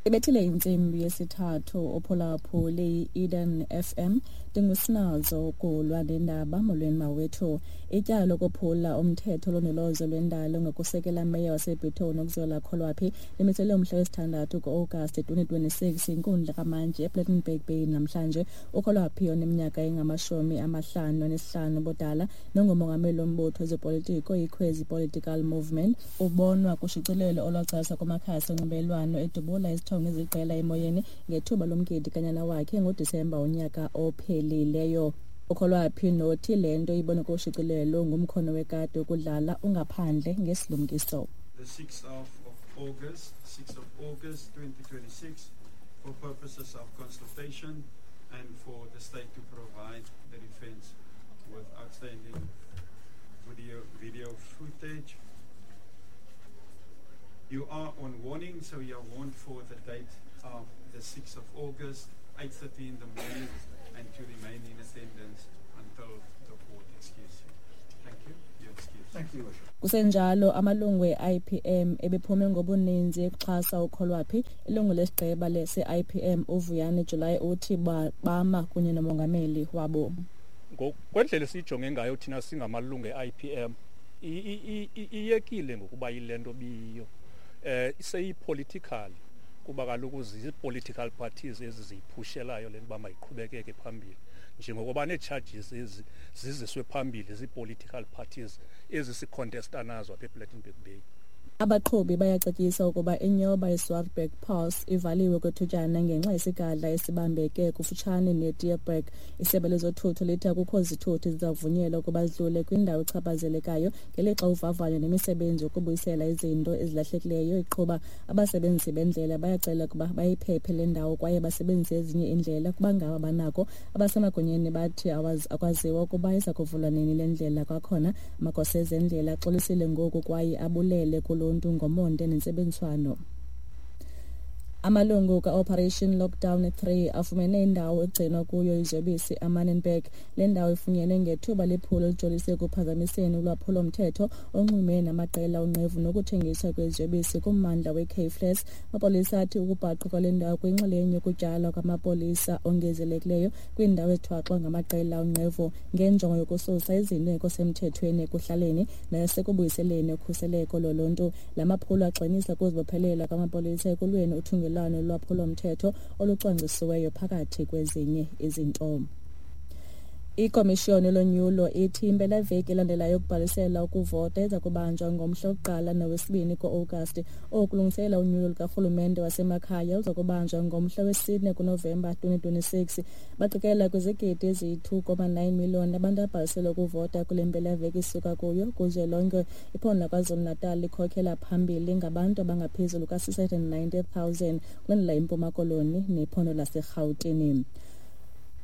Ibethile intsimbi yesithathu uphulaphuli i-Eden FM. Ndingusinazo ukulwa nendaba. Molweni mawethu. Ityala lokophula umthetho olondolozo lwendalo ngokusekela meya waseBhithoni uNokuzola Kholwaphi limiselwe umhla wesithandathu ku-Agasti 2026 inkundla kamantyi ePlettenberg Bay namhlanje. UKholwaphi oneminyaka engama-55 ubudala nongumongameli wombutho wezopolitiko iKhwezi Political Movement ubonwa kushicilelo olwagcwaliswa kumakhasi onxibelelwano edubula izithongo eziqela emoyeni ngethuba lomgidi kanyana wakhe ngoDisemba unyaka ophelileyo. UKholwaphi nothi le nto ibonwe kushicilelo ngumkhono wekati wokudlala ungaphandle ngesilumkiso. The 6th of August, 6th of August 2026, for purposes of consultation and for the state to provide the defense with outstanding video footage. You are on warning, so you are warned for the date of the 6th of August, 8:30 in the morning, and to remain in attendance until the court excuse you. Thank you. You're excused. Thank you, Your Worship. Kusenjalo, amalungu e-IPM ebephume ngobuninzi ekuxhasa uKholwaphi. Ilungu lesigqeba lese-IPM uVuyani July uthi bama kunye nomongameli wabo. Ngokwendlela esiyijonge ngayo thina singamalungu e-IPM, iyekile ngokuba yile nto biyiyo. Seyi-political, kuba kaloku zii-political parties ezi ziyiphushelayo le nto uba mayiqhubekeke phambili, njengokuba nee-charges ezi ziziswe phambili zii-political parties ezi si-contesta nazo apha ePlettenberg Bay. Abaqhubi bayacetyiswa ukuba inyoba iSwartberg Pass ivaliwe kwethutyana ngenxa yesigadla esibambeke kufutshane neTierberg. Isebe lezothutho lithi akukho zithuthi zizavunyelwa ukuba zidlule kwindawo echaphazelekayo ngelixa uvavanyo nemisebenzi yokubuyisela izinto ezilahlekileyo iqhuba. Abasebenzisi bendlela bayacela ukuba bayiphephe le ndawo kwaye basebenzise ezinye iindlela kuba ngaba banako. Abasemagunyeni bathi akwaziwa ukuba iza kuvulwa nini le ndlela kwakhona. Amagosa ezendlela axolisile ngoku kwaye abulele kuluntu ngomonde nentsebenziswano. Amalungu ka-Operation Lockdown 3 afumene indawo egcinwa kuyo iziyobisi eManenberg. Le ndawo ifunyenwe ngethuba lephulo elijolise ekuphazamiseni ulwaphulo-mthetho onxulumene namaqela onqevu nokuthengiswa kweziyobisi kummandla weCape Flats. Amapolisa athi ukubhaqwa kwale ndawo kuyinxalenye yokutyalwa kwamapolisa ongezelekileyo kwiindawo ezithwaxwa ngamaqela onqevu ngenjongo yokususa izinto engekho semthethweni ekuhlaleni nasekubuyiseleni ukhuseleko loluntu. La maphulo agxinisa ukuzibophelela kwamapolisa ekulweni uthungelwano lolwaphulo-mthetho olucwangcisiweyo phakathi kwezinye izinto. Ikomishoni yolonyulo ithi impelaveki elandelayo yokubhalisela ukuvota iza kubanjwa ngomhla wokuqala nowesibini ku-Agasti. Oku kulungiselela unyulo lukarhulumente wasemakhaya oluza kubanjwa ngomhla wesine kuNovemba 2026. Baqikela kwizigidi eziyi-2.9 million abantu abhalisele ukuvota kule mpelaveki isuka kuyo kuzwelonke. Iphondo laKwaZulu-Natal likhokhela phambili ngabantu abangaphezulu ka-690,000, kulandela iMpuma Koloni nephondo laseRhawutini.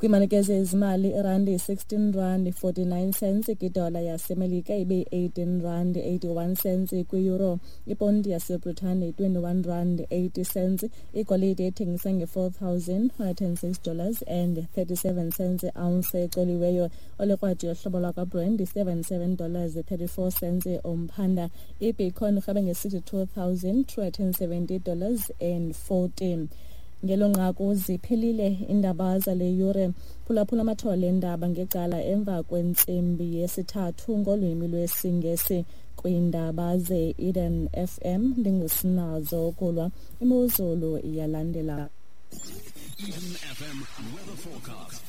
Kwiimalike zezimali, irandi yi-16 rand 49 cents kwidola yaseMelika, ibe yi-18 rand 81 cents kwi-euro. Iponti yaseBritane yi-21 rand 80 cents. Igolide ithengisa nge-$4,106 and 37 cents ounce ecoliweyo. Olekrwada yohlobo lwakwaBrent yi-$77 34 cents umphanda. Ibitcoin irhabe nge-$62,270 and 14. Ngelo nqaku ziphelile iindaba zale yure. Phulaphula amathole eendaba ngecala emva kwentsimbi yesithathu ngolwimi lwesiNgesi kwiindaba ze-Eden FM. Ndingusinazo Kulwa. Imozulu iyalandela. Eden FM weather forecast.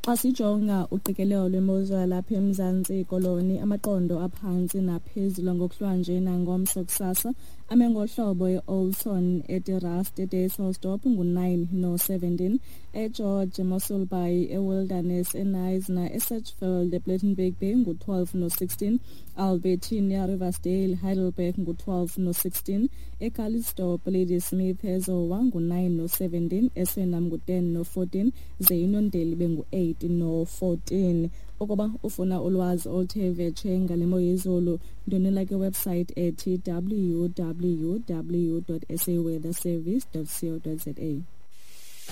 Xa sijonga uqikelelo lwemozulu yalapha eMzantsi Koloni, amaqondo aphantsi naphezulu ngokuhlwanje nangomso kusasa ame ngohlobo: e-Oudtshoorn, eTerrace, eDysselsdorp ngu-9 no-17, eGeorge, Mossel Bay, eWilderness, eKnysna, eSedgefield, ePlettenberg Bay ngu-12 no-16, Albertinia, Riversdale, Heidelberg ngu-12 no-16, eCalitzdorp, Ladysmith, eZowa ngu-9 no-17, eSwellnum ngu-10 no-14, ze iUniondale ibe ngu-8 no-14. Ukuba ufuna ulwazi oluthe vetshe ngale mo yezulu, ndwendwela kwiwebsite ethi www.saweatherservice.co.za.